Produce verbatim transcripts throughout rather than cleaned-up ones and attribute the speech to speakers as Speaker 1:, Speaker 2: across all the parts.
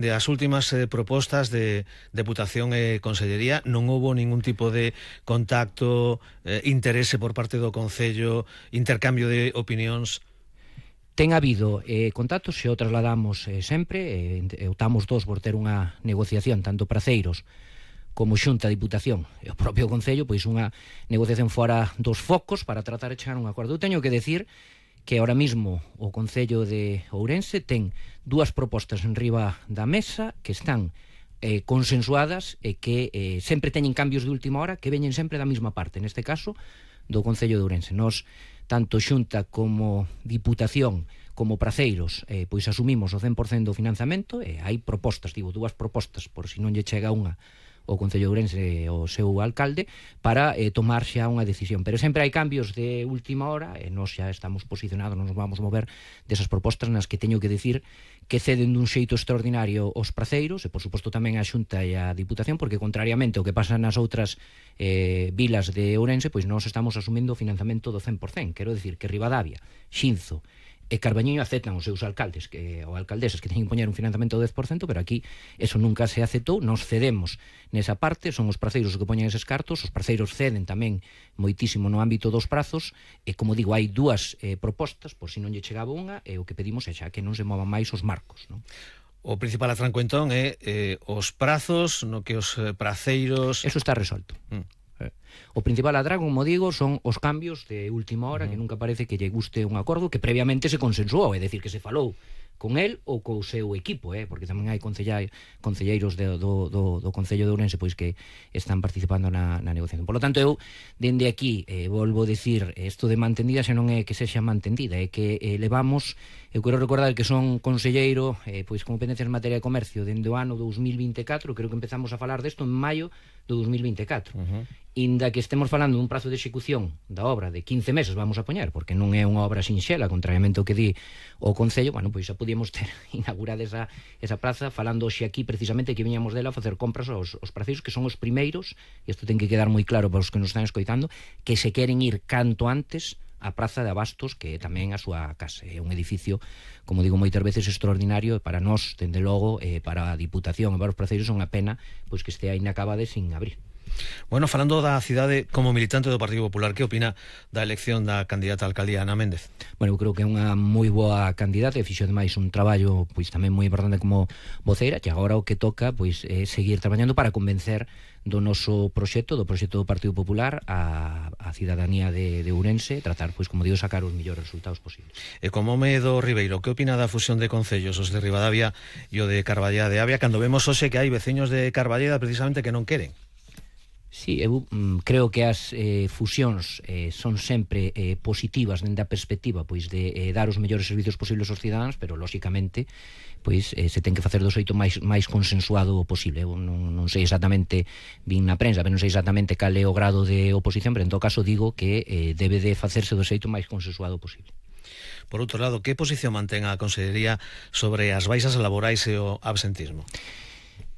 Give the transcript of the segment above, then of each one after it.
Speaker 1: de as últimas eh, propostas de Deputación e Consellería, non houbo ningún tipo de contacto, eh, interese por parte do Concello, intercambio de opinións?
Speaker 2: Ten habido eh, contactos e o trasladamos eh, sempre, eh, optamos todos por ter unha negociación, tanto praceiros como Xunta, Diputación e o propio Concello, pois unha negociación fora dos focos para tratar de chegar a un acordo. Eu teño que decir que ahora mismo o Concello de Ourense ten dúas propostas en riba da mesa que están eh, consensuadas e que eh, sempre teñen cambios de última hora que veñen sempre da mesma parte, neste caso do Concello de Ourense. Nos, tanto Xunta como Diputación como praceiros, eh, pois asumimos o cen por cento do financiamento e hai propostas, digo, dúas propostas, por si non lle chega unha o Concello de Ourense o seu alcalde para eh, tomar xa unha decisión, pero sempre hai cambios de última hora e nós xa estamos posicionados, non nos vamos mover desas propostas nas que teño que decir que ceden dun xeito extraordinario os praceiros e por suposto tamén a Xunta e a Diputación, porque contrariamente ao que pasa nas outras eh, vilas de Ourense, pois nós estamos asumindo o financiamento do cen por cento, quero decir que Ribadavia, Xinzo e Carballiño aceptan os seus alcaldes que, ou alcaldesas que teñen que poñer un financiamento do dez por cento, pero aquí eso nunca se aceptou, nos cedemos nesa parte, son os praceiros os que poñen eses cartos, os praceiros ceden tamén moitísimo no ámbito dos prazos, e como digo, hai dúas eh, propostas, por si non lle chegaba unha, e o que pedimos é xa que non se movan máis os marcos, non?
Speaker 1: O principal atranco entón é eh, os prazos no que os eh, praceiros...
Speaker 2: Eso está resolto. Mm. O principal atraco, como digo, son os cambios de última hora, uh-huh. que nunca parece que lle guste un acordo que previamente se consensuou, é dicir, que se falou con el ou co seu equipo, eh? Porque tamén hai concelleiros de, do, do, do Concello de Ourense pois que están participando na, na negociación. Por lo tanto, eu, dende aquí, eh, volvo a decir, isto de mantendida xa non é que sexa mantendida, é que eh, levamos, eu quero recordar que son conselleiro eh, pois con competencias en materia de comercio dende o ano dous mil vinte e catro, creo que empezamos a falar desto en maio do dous mil vinte e catro. Uh-huh. Inda que estemos falando dun prazo de execución da obra de quince meses, vamos a poñer, porque non é unha obra sinxela, contrariamente ao que di o Concello, bueno, pois xa podíamos ter inaugurada esa, esa praza, falando hoxe aquí precisamente que viñamos dela a facer compras aos, aos praceiros, que son os primeiros, e isto ten que quedar moi claro para os que nos están escoitando, que se queren ir canto antes a Praza de Abastos, que é tamén a súa casa. É un edificio, como digo moitas veces, extraordinario, e para nós, dende logo, eh, para a Diputación e para os praceiros, son a pena pois que estea inacabada e sin abrir.
Speaker 1: Bueno, falando da cidade, como militante do Partido Popular, que opina da elección da candidata a alcaldía Ana Méndez?
Speaker 2: Bueno, eu creo que é unha moi boa candidata e fixo ademais un traballo pois tamén moi importante como voceira, que agora o que toca pois é seguir traballando para convencer do noso proxecto, do proxecto do Partido Popular a, a cidadanía de, de Ourense, tratar, pois como digo, sacar os millores resultados posibles.
Speaker 1: E como Medo Ribeiro, que opina da fusión de concellos, os de Ribadavia e o de Carballeda de Avia, cando vemos hoxe que hai veciños de Carballeda precisamente que non queren?
Speaker 2: Sí, eu mm, creo que as eh, fusións eh, son sempre eh, positivas dende a perspectiva pois de eh, dar os mellores servicios posibles aos cidadáns, pero lóxicamente pois eh, se ten que facer do xeito máis máis consensuado posible. Eu non, non sei exactamente, vin na prensa, pero non sei exactamente cal é o grado de oposición, pero en todo caso digo que eh, debe de facerse do xeito máis consensuado posible.
Speaker 1: Por outro lado, que posición mantén a Consellería sobre as baixas laborais e o absentismo?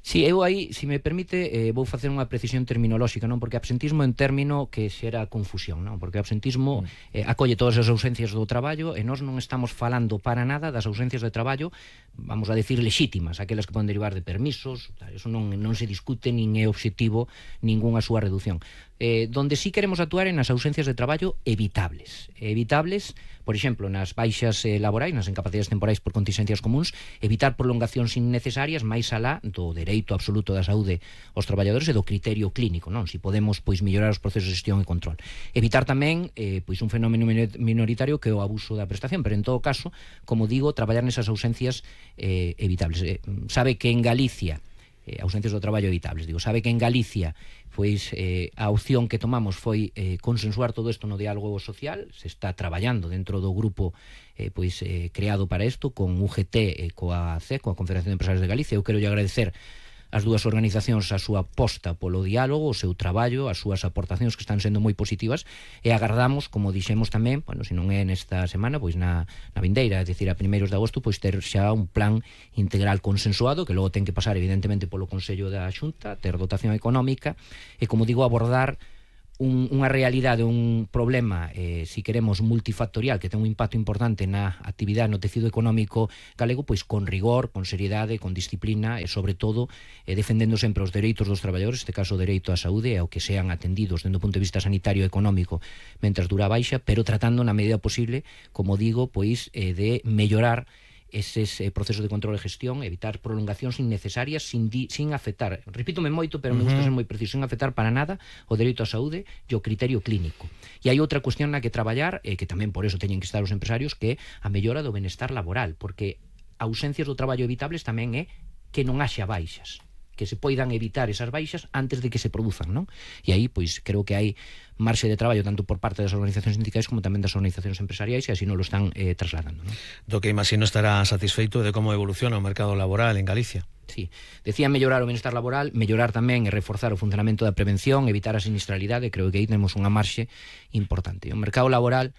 Speaker 2: Si, eu aí, se me permite, eh, vou facer unha precisión terminolóxica, non? Porque absentismo é un término que xera confusión, non? Porque o absentismo eh, acolle todas as ausencias do traballo e nós non estamos falando para nada das ausencias de traballo, vamos a decir, lexítimas, aquelas que poden derivar de permisos, eso non, non se discute nin é obxectivo ningunha súa reducción. Eh, donde sí queremos actuar en as ausencias de traballo evitables. Evitables, por exemplo, nas baixas eh, laborais, nas incapacidades temporais por contingencias comuns, evitar prolongacións innecesarias máis alá do dereito absoluto da saúde aos traballadores e do criterio clínico, non? Si podemos pois mellorar os procesos de xestión e control. Evitar tamén eh, pois un fenómeno minoritario que é o abuso da prestación, pero en todo caso, como digo, traballar nesas ausencias eh, evitables. Eh, sabe que en Galicia Eh, ausencias do traballo evitables. Digo, sabe que en Galicia pois eh, a opción que tomamos foi eh, consensuar todo isto no diálogo social, se está traballando dentro do grupo eh, pois eh, creado para isto con U G T e coa C, coa Confederación de Empresarios de Galicia. Eu quero lle agradecer as dúas organizacións a súa aposta polo diálogo, o seu traballo, as súas aportacións que están sendo moi positivas e agardamos, como dixemos tamén, bueno, se non é nesta semana, pois na, na vindeira, é dicir, a primeiros de agosto, pois ter xa un plan integral consensuado, que logo ten que pasar evidentemente polo Consello da Xunta, ter dotación económica e, como digo, abordar un, unha realidade, un problema, eh, si queremos, multifactorial, que ten un impacto importante na actividade, no tecido económico galego, pois con rigor, con seriedade, con disciplina e, sobre todo, eh, defendendo sempre os dereitos dos traballadores, este caso o dereito á saúde, ao que sean atendidos dentro do punto de vista sanitario e económico mentras dura a baixa, pero tratando na medida posible, como digo, pois eh, de mellorar eses eh, procesos de control e gestión, evitar prolongacións innecesarias sin, di, sin afectar, repítome moito, pero me gusta ser moi preciso, sin afectar para nada o dereito á saúde e o criterio clínico. E hai outra cuestión na que traballar, e eh, que tamén por eso teñen que estar os empresarios, que é a mellora do benestar laboral, porque ausencias do traballo evitables tamén é que non haxa baixas, que se poidan evitar esas baixas antes de que se produzan, non? E aí, pois, creo que hai marxe de traballo tanto por parte das organizacións sindicais como tamén das organizacións empresariais, e así non lo están eh, trasladando, non?
Speaker 1: Do que imagino estará satisfeito de como evoluciona o mercado laboral en Galicia.
Speaker 2: Sí, decía mellorar o benestar laboral, mellorar tamén e reforzar o funcionamento da prevención, evitar a sinistralidade, creo que aí temos unha marxe importante. O mercado laboral,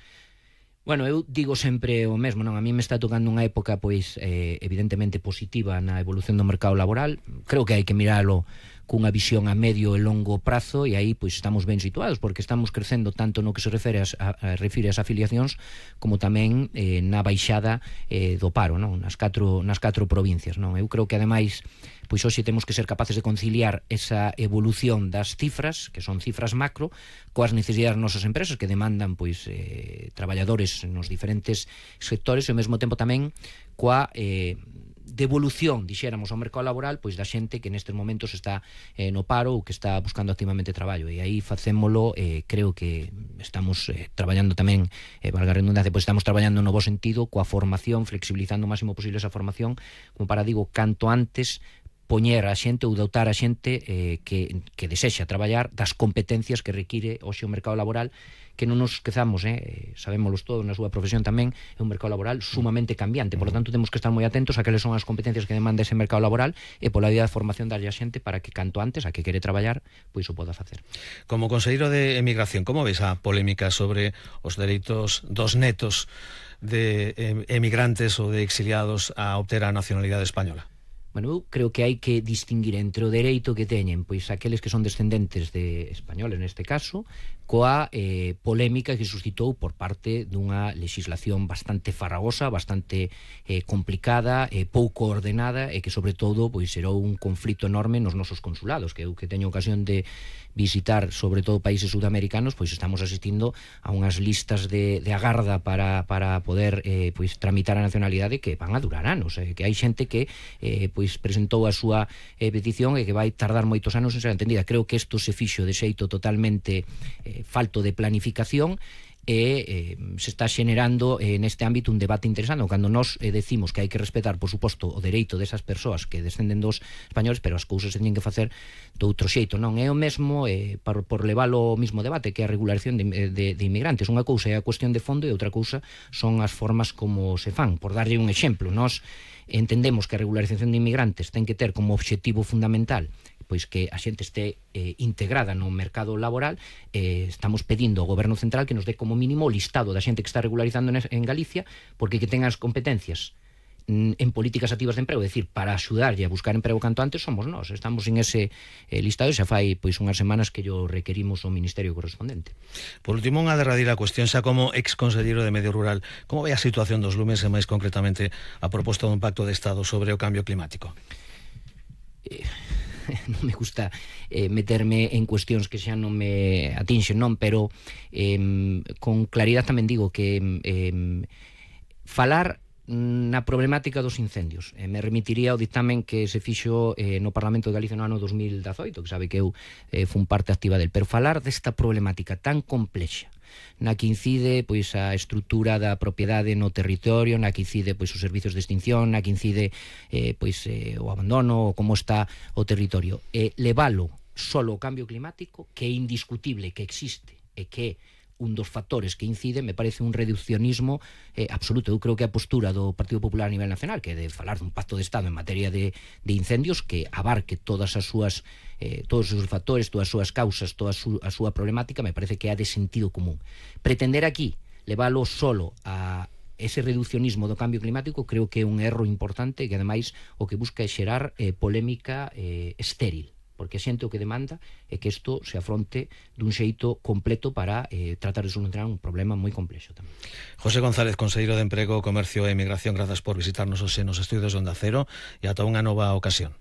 Speaker 2: bueno, eu digo sempre o mesmo, non? A mí me está tocando unha época, pois, eh, evidentemente positiva na evolución do mercado laboral. Creo que hai que miralo cunha visión a medio e longo prazo, e aí pois estamos ben situados, porque estamos crecendo tanto no que se refere a, a, a refire as afiliacións como tamén eh, na baixada eh, do paro, non? Nas catro, nas catro provincias, non? Eu creo que ademais pois hoxe temos que ser capaces de conciliar esa evolución das cifras, que son cifras macro, coas necesidades das nosas empresas que demandan pois eh, traballadores nos diferentes sectores, e ao mesmo tempo tamén coa eh, devolución, dixéramos, ao mercado laboral, pois da xente que nestes momentos está eh, no paro ou que está buscando activamente traballo, e aí facémolo, eh, creo que estamos eh, traballando tamén, eh, valga a redundancia, pois estamos traballando no bo sentido coa formación, flexibilizando o máximo posible esa formación, como para, digo, canto antes poñer a xente ou dotar a xente eh, que, que desexa traballar das competencias que require hoxe o mercado laboral, que non nos esquezamos, eh, sabémolos todos na súa profesión tamén, é un mercado laboral sumamente cambiante, por lo tanto temos que estar moi atentos a cales son as competencias que demanda ese mercado laboral e pola vía de formación darlle a xente para que canto antes, a que quere traballar, pois o poda facer.
Speaker 1: Como conselleiro de Emigración, como ves a polémica sobre os dereitos dos netos de emigrantes ou de exiliados a obter a nacionalidade española?
Speaker 2: Bueno, eu creo que hai que distinguir entre o dereito que teñen pois aqueles que son descendentes de españoles neste caso, coa eh, polémica que suscitou por parte dunha legislación bastante farragosa, bastante eh, complicada, eh, pouco ordenada, e que sobre todo pois xerou un conflito enorme nos nosos consulados, que eu que teño ocasión de visitar sobre todo países sudamericanos, pois estamos asistindo a unhas listas de, de agarda para, para poder eh, pois tramitar a nacionalidade que van a durar anos, eh, que hai xente que eh, pois presentou a súa eh, petición e que vai tardar moitos anos en ser entendida. Creo que isto se fixo de xeito totalmente eh, falto de planificación, e eh, se está xenerando eh, neste ámbito un debate interesante cando nós eh, decimos que hai que respetar, por suposto, o dereito desas persoas que descenden dos españoles, pero as cousas se teñen que facer do outro xeito, non é o mesmo eh, por, por levar o mismo debate que a regulación de, de, de inmigrantes. Unha cousa é a cuestión de fondo e outra cousa son as formas como se fan. Por darlle un exemplo, nós entendemos que a regularización de inmigrantes ten que ter como obxectivo fundamental pois que a xente este eh, integrada no mercado laboral. Eh, estamos pedindo ao Goberno Central que nos dé como mínimo o listado da xente que está regularizando en, en Galicia, porque que tenga as competencias en, en políticas activas de emprego, é dicir, para axudarlle a buscar emprego canto antes, somos nós. Estamos en ese eh, listado e xa fai pois unhas semanas que yo requerimos ao Ministerio correspondente.
Speaker 1: Por último, unha derradeira cuestión, xa como ex conselleiro de Medio Rural, como vai a situación dos lumes e máis concretamente a proposta dun pacto de Estado sobre o cambio climático?
Speaker 2: Eh... non me gusta eh, meterme en cuestións que xa non me atinxen, non, pero eh, con claridade tamén digo que eh, falar na problemática dos incendios eh, me remitiría ao dictamen que se fixo eh, no Parlamento de Galicia no ano dos mil dezoito, que sabe que eu eh, fun parte activa del, pero falar desta problemática tan complexa na que incide pois a estrutura da propiedade no territorio, na que incide pois os servizos de extinción, na que incide eh, pois eh, o abandono, ou como está o territorio, e levalo solo o cambio climático, que é indiscutible que existe e que é un dos factores que incide, me parece un reduccionismo eh, absoluto. Eu creo que a postura do Partido Popular a nivel nacional, que é de falar dun pacto de Estado en materia de, de incendios que abarque todas as súas eh, todos os seus factores, todas as súas causas, toda a, su, a súa problemática, me parece que é de sentido común. Pretender aquí levalo solo a ese reduccionismo do cambio climático creo que é un erro importante, que ademais o que busca é xerar eh, polémica eh, estéril, porque a xente o que demanda é que isto se afronte dun xeito completo para eh, tratar de solucionar un problema moi complexo tamén.
Speaker 1: José González, Conselleiro de Emprego, Comercio e Emigración, grazas por visitarnos hoxe nos estudios de Onda Cero e ata unha nova ocasión.